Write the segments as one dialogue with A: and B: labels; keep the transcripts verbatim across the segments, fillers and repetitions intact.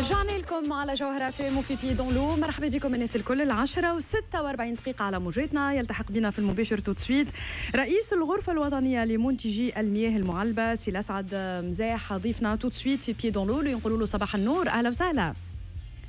A: رجعنا لكم على جوهرة اف ام وفي Pieds dans l'eau. مرحبا بكم الناس الكل، العشرة وستة وأربعين دقيقة على موجاتنا. يلتحق بنا في المباشر tout de suite رئيس الغرفة الوطنية لمنتجي المياه المعلبة سي الأسعد مزاح، ضيفنا tout de suite في Pieds dans l'eau. نقولوا له صباح النور، أهلا وسهلا.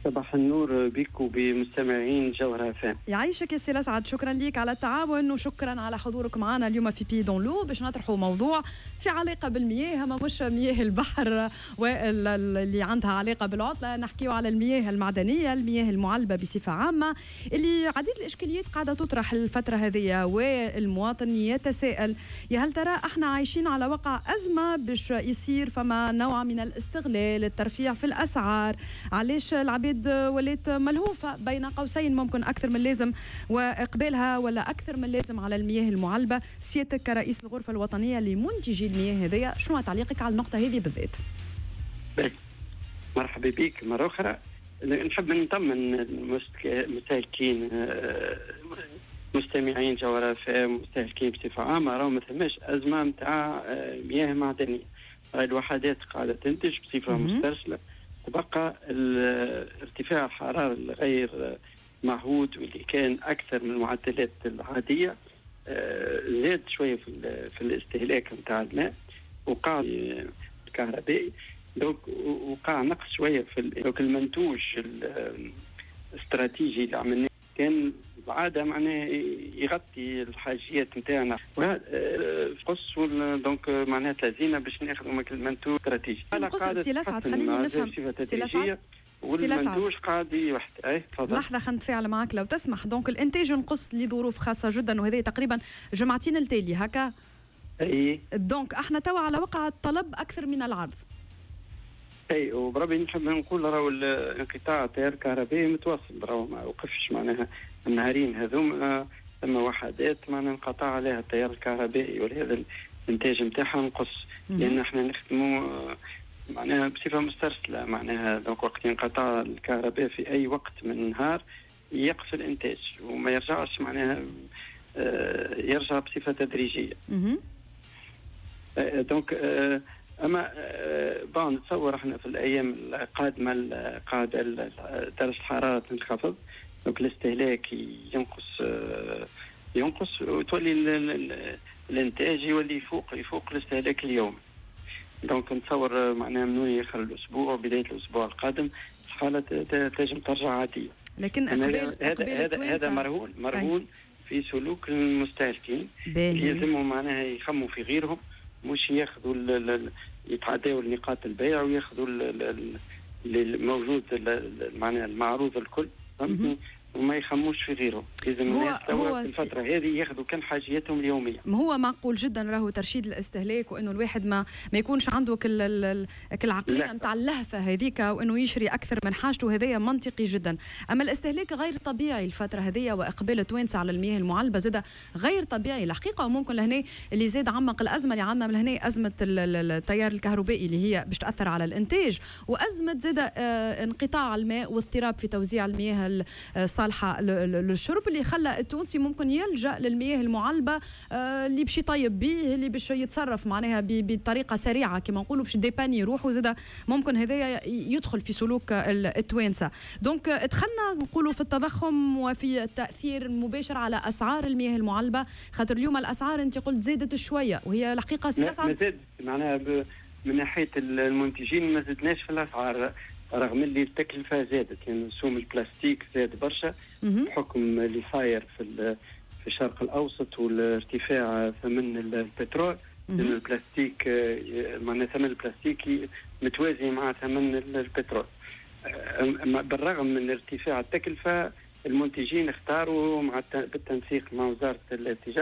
B: صباح النور بك وبمستمعين جوهرة اف ام.
A: يعيشك يا سي الأسعد، شكرا لك على التعاون وشكرا على حضورك معنا اليوم في Pieds dans l'eau باش نطرحوا موضوع في علاقة بالمياه، ما مش مياه البحر واللي عندها علاقة بالعطلة. نحكيو على المياه المعدنية، المياه المعلبة بصفة عامة، اللي عديد الإشكاليات قاعدة تطرح الفترة هذه، والمواطن يتساءل يا هل ترى احنا عايشين على وقع أزمة باش يصير فما نوع من الاستغلال، الترفيع في الأسعار؟ علاش العباد ولات ملهوفة بين قوسين ممكن أكثر من اللازم وإقبالها ولا أكثر من اللازم على المياه المعلبة؟ سيادتك كرئيس الغرفة الوطنية لمنتجي المياه هذيا، شنو تعليقك على النقطة هذه بالذات؟
B: مرحبا بك مرة أخرى. نحب نطمن المستهلكين، مستمعين جوهرة اف ام، مستهلكين بصفة عامة، راهو ما ثماش أزمة نتاع مياه معدنية. الوحدات قاعدة تنتج بصفة مسترسلة. تبقى ارتفاع الحرارة الغير معهود واللي كان أكثر من المعدلات العادية زاد شوية في, في الاستهلاك نتاع الماء وقع الكهربائي، donc وقع نقص شوية في donc المنتوج الاستراتيجي اللي عملناه كان العادة معناه يغطي الحاجيات نتاعنا قص، donc معناها تلازينا باش ناخذوا المنتوج الاستراتيجي.
A: نقص. سي الاسعد، خليني نفهم سي الاسعد.
B: والمنتوج قاعد يوحد. اي
A: تفضل. لحظه، خلينا نتفاعل معك لو تسمح. donc الانتاج نقص لظروف خاصة جدا، وهذه تقريبا جمعتين التالي هكا.
B: اي.
A: donc احنا توا على وقع الطلب اكثر من العرض.
B: اي، وبربي نحب نقول راهو الانقطاع التيار الكهربائي متواصل، راهو ما وقفش. معناها النهارين هذوما ثم وحدات معناها انقطع عليها التيار الكهربائي، ولهذا الانتاج نتاعها نقص، لان احنا نخدموا معناها بصفة مسترسله. معناها donc وقت ينقطع الكهرباء في اي وقت من النهار يقف الانتاج وما يرجعش، معناها آه، يرجع بصفة تدريجيه. آه، donc آه، اما bon نتصور احنا في الايام القادمة قاعدة درجه الحرارة تنخفض، donc الاستهلاك ينقص ينقص وتولي الانتاج يولي يفوق يفوق الاستهلاك اليومي. donc نتصور معناها من اخر الاسبوع وبداية الاسبوع القادم الحالة تنجم ترجع عاديه.
A: لكن اقبال
B: هذا هذا هذا مرهون مرهون في سلوك المستهلكين، يلزمهم معناها يخموا في غيرهم، مش ياخذوا يتعداوا نقاط البيع وياخذوا الموجود، معناها المعروض الكل، فهمتني، وما يخموش في غيره. لازم الناس توا في الفترة هذه ياخذوا كان حاجياتهم اليوميه.
A: ما هو معقول جدا راهو ترشيد الاستهلاك، وانه الواحد ما ما يكونش عنده كل العقلية نتاع اللهفه هذيك وانه يشري اكثر من حاجته، هذايا منطقي جدا. اما الاستهلاك غير طبيعي الفترة هذيا واقبال التوانسة على المياه المعلبه زاد غير طبيعي الحقيقه. وممكن لهنا اللي زاد عمق الازمة اللي عندنا من هنا ازمة التيار الكهربائي اللي هي باش تاثر على الانتاج، وازمة زاد آه، انقطاع الماء واضطراب في توزيع المياه الصالحة للشرب، اللي خلى التونسي ممكن يلجا للمياه المعلبه آه، اللي باش يطيب به، اللي باش يتصرف معناها بطريقة سريعة كما نقولوا باش dépanner روحه. زاد ممكن هذايا يدخل في سلوك التوانسه. donc دخلنا نقولوا في التضخم وفي التاثير المباشر على اسعار المياه المعلبه، خاطر اليوم الاسعار انت قلت زادت شويه، وهي الحقيقة
B: سي ما زادت. معناها من ناحية المنتجين ما زدناش في الاسعار رغم اللي التكلفة زادت، يعني سوم البلاستيك زاد برشا بحكم اللي صاير في في الشرق الاوسط والارتفاع ثمن البترول، لان البلاستيك معناها ثمن البلاستيك متوازي مع ثمن البترول. بالرغم من ارتفاع التكلفه، المنتجين اختاروا مع بالتنسيق مع وزارة التجاره.